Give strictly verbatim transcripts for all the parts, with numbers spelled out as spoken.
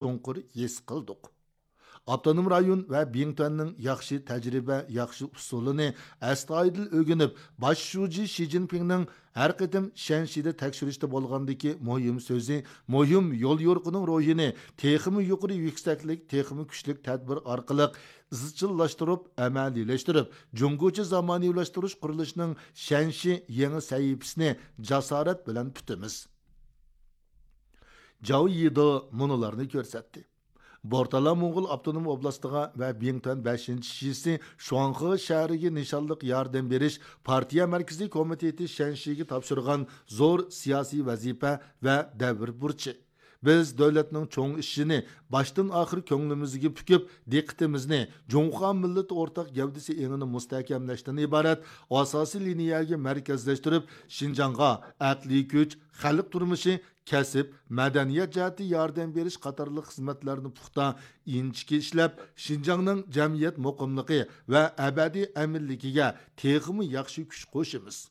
چوڭقۇر ھېس قىلدۇق. ئاپتونوم رايون ۋە بىڭتۈەننىڭ ياخشى تەجرىبە، ياخشى ئۇسۇلىنى ئەستايىدىل ئۆگىنىپ، باش شۇجى شى جىنپىڭنىڭ ھەر قېتىم شەنشىدە تەكشۈرۈشتە بولغاندىكى مۇھىم سۆزى، مۇھىم يوليورۇقىنىڭ روھىنى تېخىمۇ يۇقىرى يۈكسەكلىك، تېخىمۇ كۈچلۈك تەدبىر ئارقىلىق ئىزچىللاشتۇرۇپ، ئەمەلىيلەشتۈرۈپ، جۇڭگوچە زامانىۋىلاشتۇرۇش قۇرۇلۇشىنىڭ شەنشى يېڭى سەھىپىسىنى جاسارەت بىلەن پۈتىمىز. جاۋ يىدې مۇنۇلارنى كۆرسەتتى. بورتالا موڭغۇل ئاپتونوم ئوبلاستىغا ۋە بىڭتۈەن بەشىنچى شىسى شۇاڭخې شەھىرىگە نىشانلىق ياردەم بېرىش پارتىيە مەركىزىي كومىتېتى شەنشىگە تاپشۇرغان زور سىياسىي ۋەزىپە ۋە دەۋر بۇرچى. بىز دۆلەتنىڭ چوڭ ئىشىنى باشتىن ئاخىر كۆڭلىمىزگە پۈكۈپ، دىققىتىمىزنى جۇڭخۇا مىللىتى ئورتاق گەۋدىسى ئېڭىنى مۇستەھكەملەشتىن ئىبارەت ئاساسىي لىنىيەگە مەركەزلەشتۈرۈپ، شىنجاڭغا ئەقلىي كۈچ، خەلق تۇرمۇشى، كەسىپ، مەدەنىيەت جەھەتتە ياردەم بېرىش قاتارلىق خىزمەتلەرنى پۇختا، ئىنچىكە ئىشلەپ، شىنجاڭنىڭ جەمئىيەت مۇقىملىقى ۋە ئەبەدىي ئەمىنلىكىگە تېخىمۇ ياخشى كۈچ قوشىمىز.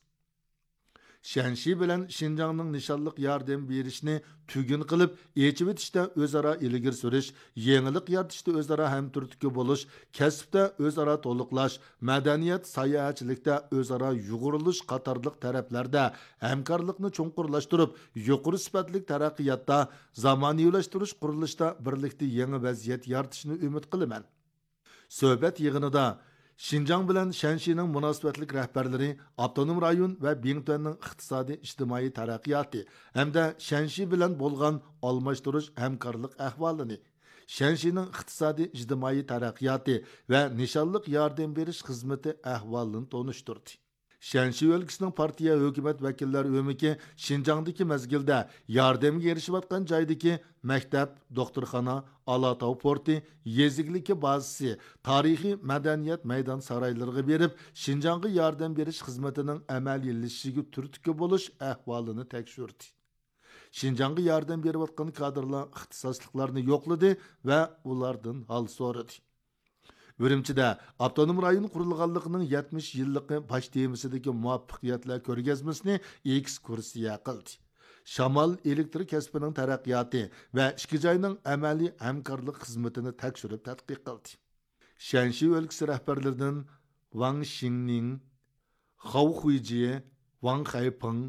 شەنشى بىلەن شىنجاڭنىڭ نىشانلىق ياردەم بېرىشنى تۈگۈن قىلىپ، ئېچىۋېتىشتە ئۆزئارا ئىلگىرى سۈرۈش، يېڭىلىق يارىتىشتا ئۆزئارا ھەمتۈرتكە بولۇش، كەسىپتە ئۆزئارا تولۇقلاش، مەدەنىيەت، ساياھەتچىلىكتە ئۆزئارا يۇغۇرۇلۇش قاتارلىق تەرەپلەردە ھەمكارلىقنى چوڭقۇرلاشتۇرۇپ، يۇقىرى سۈپەتلىك تەرەققىياتتا، زامانىۋىلاشتۇرۇش قۇرۇلۇشىدا بىرلىكتە يېڭى ۋەزىيەت يارىتىشنى ئۈمىد قىلىمەن. سۆھبەت يىغىنىدا شىنجاڭ بىلەن شەنشىنىڭ مۇناسىۋەتلىك رەھبەرلىرى ئاپتونوم رايون ۋە بىڭتۈەننىڭ ئىقتىسادىي، ئىجتىمائىي تەرەققىياتى ھەمدە شەنشى بىلەن بولغان ئالماشتۇرۇش ھەمكارلىق ئەھۋالىنى، شەنشىنىڭ ئىقتىسادىي، ئىجتىمائىي تەرەققىياتى ۋە نىشانلىق ياردەم بېرىش خىزمىتى ئەھۋالىنى تونۇشتۇردى. شەنشى ئۆلكىسىنىڭ پارتىيە ھۆكۈمەت ۋەكىللەر ئۆمىكى شىنجاڭدىكى مەزگىلدە ياردەمگە ئېرىشىۋاتقان جايدىكى مەكتەپ، دوختۇرخانا، ئالاتاۋ پورتى، يېزا ئىگىلىكى بازىسى، تارىخىي مەدەنىيەت مەيدان سارايلىرىغا بېرىپ، شىنجاڭغا ياردەم بېرىش خىزمىتىنىڭ ئەمەلىيلىشىشىگە تۈرتكە بولۇش ئەھۋالىنى تەكشۈردى. شىنجاڭغا ياردەم بېرىۋاتقان كادىرلار ئىختىساسلىقلارنى يوقلىدى ۋە ئۇلاردىن ھال سورىدى. ئۈرۈمچىدە ئاپتونوم رايون قۇرۇلغانلىقىنىڭ يەتمىش يىللىقى باش تېمىسىدىكى مۇۋەپپەقىيەتلەر كۆرگەزمىسىنى ئېكسكۇرسىيە قىلدى. شامال ئېلېكتر كەسپىنىڭ تەرەققىياتى ۋە ئىككى جاينىڭ ئەمەلىي ھەمكارلىق خىزمىتىنى تەكشۈرۈپ تەتقىق قىلدى. شەنشى ئۆلكىسى رەھبەرلىرىدىن ۋاڭ شىڭنىڭ، خاۋ خۇيجى، ۋاڭ خەيپىڭ،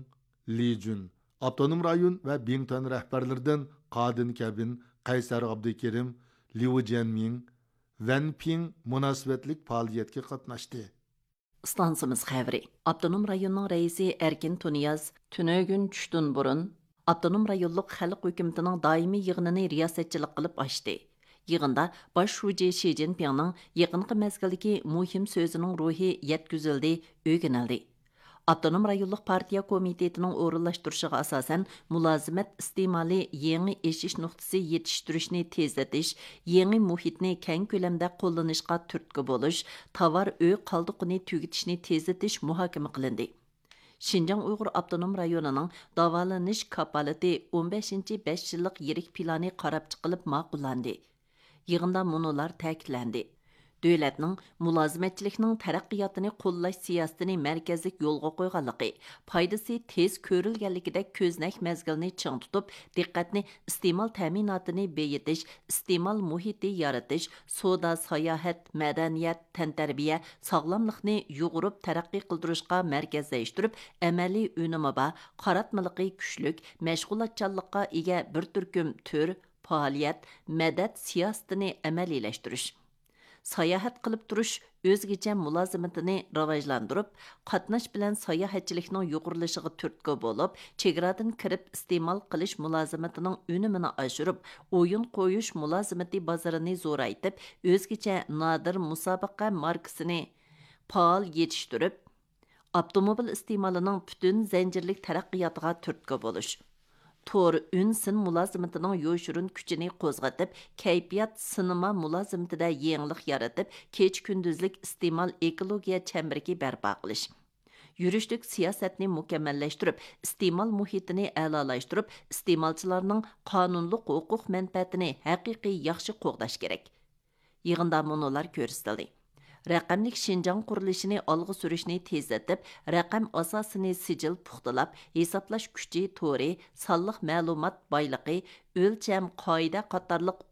لى جۈن، ئاپتونوم رايون ۋە بىڭتۈەن رەھبەرلىرىدىن قادىن كەبىن، قەيسەر ئابدۇكېرىم، ليۇ جيەنمىڭ، ۋەن پىڭ مۇناسىۋەتلىك پائالىيەتكە قاتناشتى. ئىستانسىمىز خەۋىرى. ئاپتونوم رايوننىڭ رەئىسى ئەركىن تۇنىياز تۈنۈگۈن چۈشتىن بۇرۇن ئاپتونوم رايونلۇق خەلق ھۆكۈمىتىنىڭ دائىمىي يىغىنىنى رىياسەتچىلىك قىلىپ ئاچتى. يىغىندا باش شۇجى شى جىنپىڭنىڭ يېقىنقى مەزگىلدىكى مۇھىم سۆزىنىڭ روھى يەتكۈزۈلدى، ئۆگىنىلدى. ئاپتونوم رايونلۇق پارتىيە كومىتېتىنىڭ ئورۇنلاشتۇرۇشىغا ئاساسەن، مۇلازىمەت ئىستېمالى يېڭى ئېشىش نۇقتىسى يېتىشتۈرۈشنى تېزلىتىش، يېڭى مۇھىتنى كەڭ كۆلەمدە قوللىنىشقا تۈرتكە بولۇش، تاۋار ئۆي قالدۇقىنى تۈگىتىشنى تېزلىتىش مۇھاكىمە قىلىندى. شىنجاڭ ئۇيغۇر ئاپتونوم رايونىنىڭ داۋالىنىش كاپالىتى ئون بەشىنچى بەش يىللىق يىرىك پىلانى قاراپ چىقىلىپ ماقۇللاندى. يىغىندا مۇنۇلار تەكىتلەندى: دۆلەتنىڭ مۇلازىمەتچىلىكنىڭ تەرەققىياتىنى قوللاش سىياسىتىنى مەركەزلىك يولغا قويغانلىقى، پايدىسى تېز كۆرۈلگەنلىكىدەك كۆزنەك مەزگىلنى چىڭ تۇتۇپ، دىققەتنى ئىستېمال تەمىناتىنى بېيىتىش، ئىستېمال مۇھىتى يارىتىش، سودا، ساياھەت، مەدەنىيەت، تەنتەربىيە، ساغلاملىقنى يۇغۇرۇپ تەرەققىي قىلدۇرۇشقا مەركەزلەشتۈرۈپ، ئەمەلىي ئۈنۈمى بار، قاراتمىلىكى كۈچلۈك، مەشغۇلاتچانلىققا ئىگە بىر تۈركۈم تۈر، پائالىيەت، مەدەت سىياسىتىنى ئەمەلىيلەشتۈرۈش. ساياھەت قىلىپ تۇرۇش ئۆزگىچە مۇلازىمىتىنى راۋاجلاندۇرۇپ، قاتناش بىلەن ساياھەتچىلىكنىڭ يۇقىرىلىشىغا تۈرتكە بولۇپ، چېگرادىن كىرىپ ئىستېمال قىلىش مۇلازىمىتىنىڭ ئۈنۈمىنى ئاشۇرۇپ، ئويۇن قويۇش مۇلازىمىتى بازىرىنى زورايتىپ، ئۆزگىچە نادىر مۇسابىقە ماركىسىنى پائال يېتىشتۈرۈپ، ئاپتوموبىل ئىستېمالىنىڭ پۈتۈن زەنجىرلىك تەرەققىياتىغا تۈرتكە بولۇش. تور ئۈن سىن مۇلازىمىتىنىڭ يوشۇرۇن كۈچىنى قوزغىتىپ، كەيپىيات سىنىما مۇلازىمىتىدە يېڭىلىق يارىتىپ، كېچە كۈندۈزلۈك ئىستېمال ئېكولوگىيە چەمبىرىكى بەرپا قىلىش. يۈرۈشلۈك سىياسەتنى مۇكەممەللەشتۈرۈپ، ئىستېمال مۇھىتىنى ئەلالاشتۇرۇپ، ئىستېمالچىلارنىڭ قانۇنلۇق ھوقۇق مەنپەئەتىنى ھەقىقىي ياخشى قوغداش كېرەك. يىغىندا مۇنۇلار كۆرسىتىلدى: رەقەملىك شىنجاڭ قۇرۇلۇشىنى ئالغا سۈرۈشنى تېزلىتىپ، رەقەم ئاساسىنى سىجىل پۇختىلاپ، ھېسابلاش كۈچى تورى، سانلىق مەلۇمات بايلىقى، ئۆلچەم قائىدە قاتارلىق